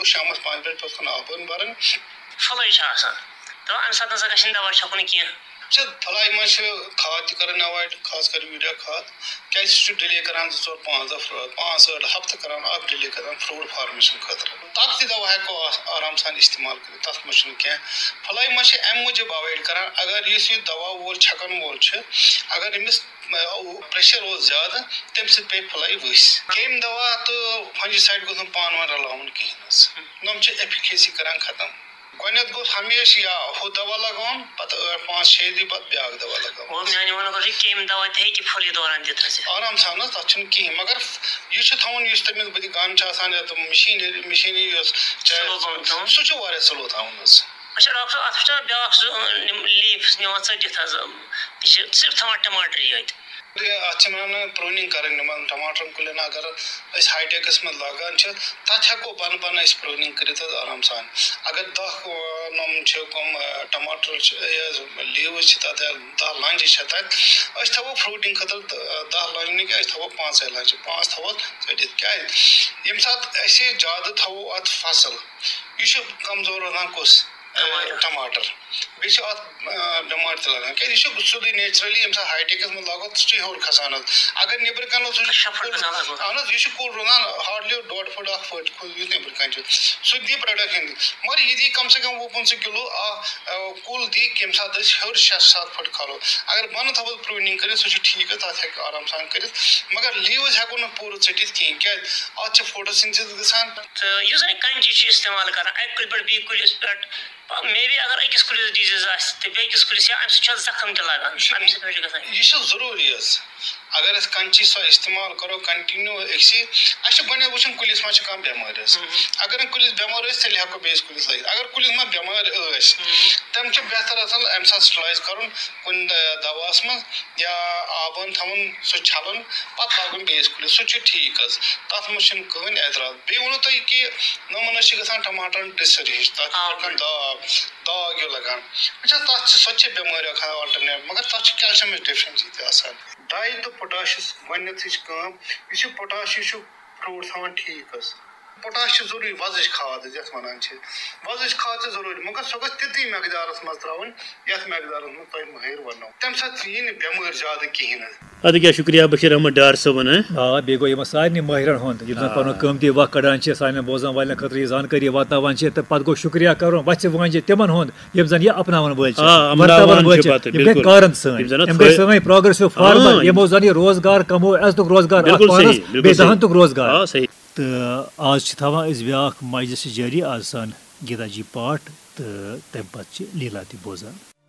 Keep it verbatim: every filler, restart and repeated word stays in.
شامَس پانٛژِ بَجہِ پَتہٕ کھَنٛڈ آب وَن بَرٕنۍ۔ پھُلَے چھِ آسان، تہٕ اَمہِ ساتہٕ نہ سا گژھِ نہٕ دَوا چھَکُن کینٛہہ۔ چھِ پھٕلاے منٛز چھِ کھاد تہِ کَرٕنۍ ایوایڈ، خاص کر یوٗریا کھاد، کیٛازِ سُہ چھُ ڈِلے کَران زٕ ژور پانٛژھ دۄہ فروٹ، پانٛژھ ٲٹھ ہفتہٕ کَران اَکھ ڈِلے کَران فروٹ فارمیشن خٲطرٕ۔ تَتھ تہِ دَوا ہٮ۪کو آ- آرام سان استعمال کٔرِتھ، تَتھ منٛز چھُنہٕ کینٛہہ۔ پھٕلاے منٛز چھِ اَمہِ موٗجوٗب ایوایڈ کَران، اگر یُس یہِ دَوا وول چھَکَن وول چھُ، اگر أمِس پریشر اوس زیادٕ، تَمہِ سۭتۍ پیٚیہِ پھٕلاے ؤسۍ۔ کیٚمۍ دوا تہٕ فنجی سایڈ گوٚژھ نہٕ پانہٕ ؤنۍ رَلاوُن کِہیٖنۍ حظ۔ یِم چھِ ایفیکیسی کَران ختم۔ گۄڈٕنٮ۪تھ گوٚژھ ہمیشہِ یا ہُہ دوا لگاوُن، پَتہٕ ٲٹھ پانٛژھ شےٚ دۄہہِ پَتہٕ بیٛاکھ دوا لگاوُن۔ گوٚو، میانہِ وَنُن گوٚو، یہِ کیٚمۍ دوا تہِ ہیٚکہِ پھُلہِ دوران دِتھ حظ۔ آرام سان حظ، تَتھ چھُنہٕ کِہیٖنۍ، مگر یہِ چھُ تھاوُن، یُس تٔمِس بٕتھِ گَن چھِ آسان، یا تِم مِشیٖنٔری مِشیٖنٔری یۄس چھِ، سُہ لوٚب آمُت تھاوُن۔ سُہ چھُ واریاہ سلو تھاوُن حظ۔ اچھا ڈاکٹر صٲب، اَتھ چھُ آسان بیٛاکھ سُہ، یِم لیٖفٕس نِوان ژٔٹِتھ حظ، یہِ چھِ صرف تھاوان ٹماٹرٕے یٲتۍ۔ اَتھ چھِ وَنان پرٛوٗنِنٛگ کَرٕنۍ یِمَن ٹماٹرَن کُلٮ۪ن۔ اگر أسۍ ہاے ٹیکَس منٛز لاگان چھِ، تَتھ ہٮ۪کو بۄنہٕ بۄنہٕ أسۍ پرٛوٗنِنٛگ کٔرِتھ حظ آرام سان۔ اگر دَہ، آ، نۄم چھِ کٕم، آ، ٹماٹر چھِ، یہِ حظ لیٖوٕز چھِ تَتھ، یا دَہ لانجہِ چھِ تَتھ، أسۍ تھاوو فروٗٹِنٛگ خٲطرٕ، آ، دَہ لانجہِ نہٕ کینٛہہ، أسۍ تھاوو پانٛژَے لانجہِ، پانٛژھ تھاوو ژٔٹِتھ۔ کیٛازِ؟ ییٚمہِ ساتہٕ أسۍ یہِ زیادٕ تھاوو اَتھ فصٕل، یہِ چھُ کمزور روزان کُس؟ آ، ٹماٹر۔ ٹماٹر۔ بیٚیہِ چھِ اَتھ، آ، بٮ۪مارِ تہِ لگان، کیٛازِ یہِ چھُ سیوٚدُے نیچرلی، ییٚمہِ ساتہٕ ہاے ٹیکَس منٛز لاگو، سُہ چھُ ہیوٚر کھسان حظ۔ اگر نیٚبرٕ کَنہِ اوس، سُہ چھُ شےٚ فُٹ کُل، گژھان لگ بگ۔ اَہَن حظ، یہِ چھُ کُل روزان ہارڈلی ڈۄڈ فُٹ، اَکھ فُٹ، یُتھ نیٚبرٕ کَنہِ چھُ، سُہ تہِ دی پرٛوڈَکشَن تہِ۔ مگر یہِ دی کم سے کم وُہ پٕنٛژٕہ کِلوٗ، آ، آ، کُل دی، ییٚمہِ ساتہٕ أسۍ ہیوٚر شےٚ سَتھ فُٹ کھالو۔ اگر بۄنہٕ تھاوو پرٛوٗنِنٛگ کٔرِتھ، سُہ چھُ ٹھیٖک حظ، تَتھ ہیٚکہِ آرام سان کٔرِتھ، مگر لیٖوٕز ہٮ۪کو نہٕ پوٗرٕ ژٔٹِتھ کِہیٖنۍ، کیٛازِ اَتھ چھِ فوٹوسِنتھسِس گژھان۔ تہٕ یُس زَن کَنچی چھِ استعمال کران اَکہِ کُلہِ پٮ۪ٹھ بیٚیہِ کُلِس پٮ۪ٹھ، maybe اگر أکِس کُلِس ڈِزیٖز آسہِ تہٕ بیٚیہِ کِس کُلِس، یا اَمہِ سۭتۍ چھُ اَتھ زخم تہِ لگان، اَمہِ سۭتۍ ما چھُ گژھان؟ یہِ چھُ ضروٗری حظ۔ اگر أسۍ کَنچی سۄ استعمال کرو continue أکسٕے، اَسہِ چھُ گۄڈٕنٮ۪تھ وٕچھُن کُلِس ما چھِ کانٛہہ بٮ۪مٲرۍ حظ۔ اگر نہٕ کُلِس بٮ۪مٲرۍ ٲسۍ، تیٚلہِ ہٮ۪کو بیٚیِس کُلِس لٲگِتھ۔ اگر کُلِس ما بٮ۪مٲرۍ ٲسۍ، تَمہِ چھُ بہتر آسان اَمہِ ساتہٕ سٹرلایز کرُن کُنہِ، آ، دواہَس منٛز یا آبَن تھاوُن سُہ چھَلُن، پَتہٕ لاگُن بیٚیِس کُلِس، سُہ چھُ ٹھیٖک حظ۔ تَتھ منٛز چھُنہٕ کٕہٕنۍ اعتراض۔ بیٚیہِ ووٚنوُ تۄہہِ کہِ یِمَن حظ چھِ گژھان ٹماٹرَن ڈِسٕر ہِش، تَتھ چھِ آ۔ پٮ۪ٹھ داغ، داغ ہیوٗ لگان۔ وٕچھ حظ، تَتھ چھِ، سۄ تہِ چھِ بٮ۪مٲرۍ اَکھ alternate، مگر تَتھ چھِ کیلشیمٕچ ڈیفیشنسی تہِ آسان۔ ڈاے تہٕ پوٹاشَس گۄڈٕنٮ۪تھٕے چھِ کٲم، یُس یہِ پوٹاش چھُ، یہِ چھُ فروٹ تھاوان ٹھیٖک حظ۔ پوٹاش چھُ ضروٗری وۄزٕج کھاد حظ، یَتھ وَنان چھِ۔ وۄزٕج کھاد چھِ ضروٗری، مگر سۄ گٔژھ تِتھٕے مقدارَس منٛز ترٛاوٕنۍ، یَتھ مقدارَس منٛز تۄہہِ مٲہِر وَنو۔ تَمہِ ساتہٕ یی نہٕ بٮ۪مٲرۍ زیادٕ کِہیٖنۍ حظ۔ اَدٕ کیٛاہ، شُکریہ بشیٖر احمد ڈار صٲبُن، ہہ؟ آ، بیٚیہِ گوٚو یِمَن سارنٕے مٲہرَن ہُنٛد، یِم زَن آ۔ پَنُن قۭمتی وقت کَڑان چھِ، سانٮ۪ن بوزَن والٮ۪ن خٲطرٕ یہِ زانکٲری واتناوان چھِ، تہٕ پَتہٕ گوٚو شُکریہ کَرُن وَژھِ وٲنٛجہِ تِمَن ہُنٛد، یِم زَن یہِ اَپناوَن وٲلۍ چھِ، آ، اَپناوَن ورتاوَن وٲلۍ چھِ، چھِ، پَتہٕ، یِم گٔے بِلکُل۔ کارَن سٲنۍ، یِم زَن اَتھ یِم گٔے فٲ-، سٲنۍ پروگریسو فارمر، آ، یِمو زَن یہِ روزگار کَموو، اَسہِ دیُتُکھ روزگار اَتھ بِلکُل صحیح، پانَس، بِلکُل بیٚیہِ صحیح۔ دَہَن دیُتُکھ روزگار۔ آ، صحیح۔ تہٕ آز چھِ تھاوان أسۍ بیٛاکھ مجلس جٲری، آز سان گیٖتا جی پاٹھ، تہٕ تَمہِ پَتہٕ چھِ لیٖلا تہِ بوزان۔